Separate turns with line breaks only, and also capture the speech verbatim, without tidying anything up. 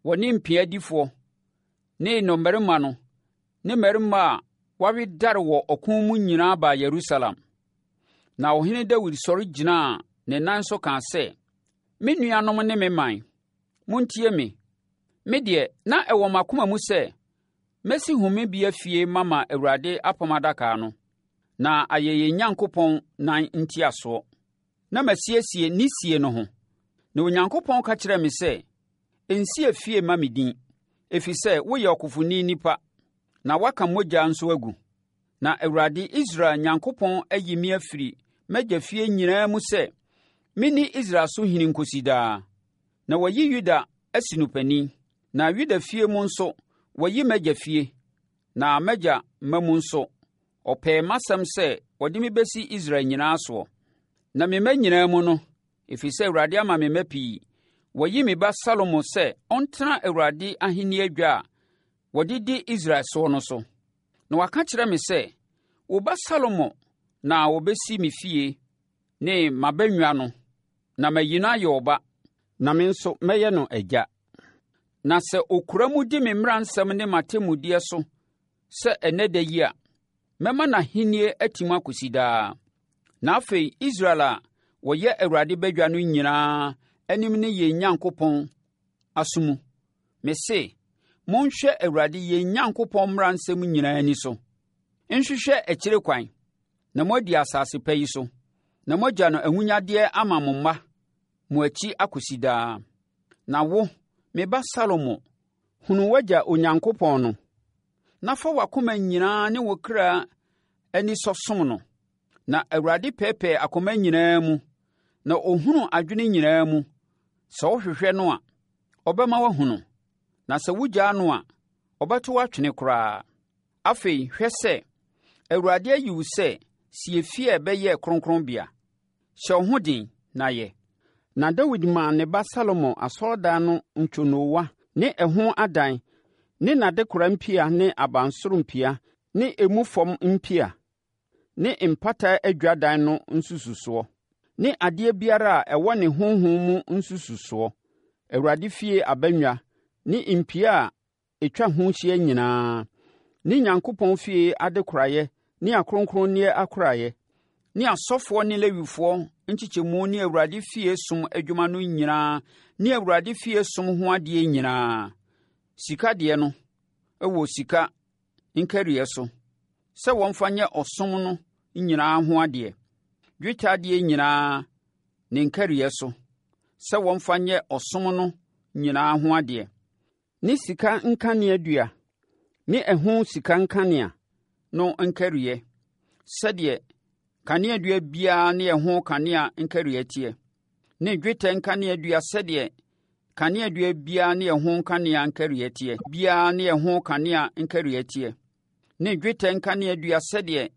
Wɔne mpiadifoɔ ne nnɔmmarima no ne mmarima a wɔawedare wɔ ɔko mu nyinaa baa Yerusalem. Na ɔhene Dawid sɔre gyinaa ne nan so kaa sɛ, “Me nuanom ne me man, montie me! Me deɛ, na ɛwɔ m'akoma mu sɛ mɛsi homebea fie mama Awurade Apam Adaka no, na ayɛ yɛn Nyankopɔn nan ntiasoɔ, na masiesie ne sie no ho. Na Onyankopɔn ka kyerɛɛ me sɛ, ‘Nsi efie mma me din, ɛfiri sɛ woyɛ ɔkofoni nipa, na woaka mogya nso agu.’ Na Awurade, Israel Nyankopɔn ayi me afiri m'agya fie nyinaa mu sɛ menni Israel so hene nkɔsi daa. Na wayi Yuda asi no panin, na Yuda fie mu nso wayi m'agya fie, na m'agya mma mu nso, ɔpɛɛ m'asɛm sɛ ɔde me bɛsi Israel nyinaa soɔ. Na me mma nyinaa mu no, ɛfiri sɛ Awurade ama me mma pii, wayi me ba Salomo sɛ ɔntena Awurade ahennie adwa a wɔde di Israel soɔ no so. Na waka kyerɛ me sɛ, ‘Wo ba Salomo na ɔbɛsi me fie ne m'abannwa no, na mayi no ayɛ ɔba, na me nso mɛyɛ no agya. Na sɛ ɔkura mu di me mmaransɛm ne m'atemmudeɛ so sɛ ɛnnɛ da yi a, mɛma n'ahennie atim akɔsi daa.’ Na afei Israel a wɔyɛ Awurade badwa no nyinaa anim ne yɛn Nyankopɔn aso mu, mese, monhwɛ Awurade yɛn Nyankopɔn mmaransɛm nyinaa ani so, nhwehwɛ akyire kwan, na moadi asase pa yi so, na moagya no ahonyadeɛ ama mo mma mo akyi akɔsi daa. Na wo, me ba Salomo, hunu w'agya Onyankopɔn no, na fa w'akoma nyinaa ne wo kra anisɔ som no. Na Awurade pɛɛpɛɛ akoma nyinaa mu, na ɔhunu adwene nyinaa mu. Sɛ wohwehwɛ no a, ɔbɛma woahu no, na sɛ wogyaa no a, ɔbɛto wo atwene koraa. Afei, hwɛ sɛ Awurade ayi wo sɛ sie fie a ɛbɛyɛ kronkronbea. Hyɛ wo ho den na yɛ. Na Dawid maa ne ba Salomo asɔredan no ntwonoowa ne ɛho adan ne n'adekora mpia ne abansoro mpia ne emu fam mpia ne mpata adwadan no nsususoɔ ne adeɛ biara a ɛwɔ ne honhom mu nsususoɔ, Awurade fie abannwa ne mpia a ɛtwa ho hyia nyinaa, ne Nyankopɔn fie adekoraeɛ ne akronkronneɛ akoraeɛ, ne asɔfoɔ ne Lewifoɔ nkyekyɛmu ne Awurade fie som adwuma no nyinaa ne Awurade fie som ho adeɛ nyinaa. Sika deɛ no wɔ sika nkariiɛ so sɛ wɔmfa nyɛ ɔsom no nyinaa ho adeɛ. Dwetɛ adeɛ nyinaa ne nkariiɛ so sɛ wɔmfa nyɛ ɔsom no nyinaa ho adeɛ. Ne sika nkaneadua ne ɛho sika nkanea no nkariiɛ, sɛdeɛ kaneadua biara ne ɛho kanea nkariiɛ teɛ, ne dwetɛ nkaneadua sɛdeɛ kaneadua biara ne ɛho nkanea nkariiɛ teɛ biara ne ɛho kanea nkariiɛ teɛ, ne dwetɛ nkaneadua sɛdeɛ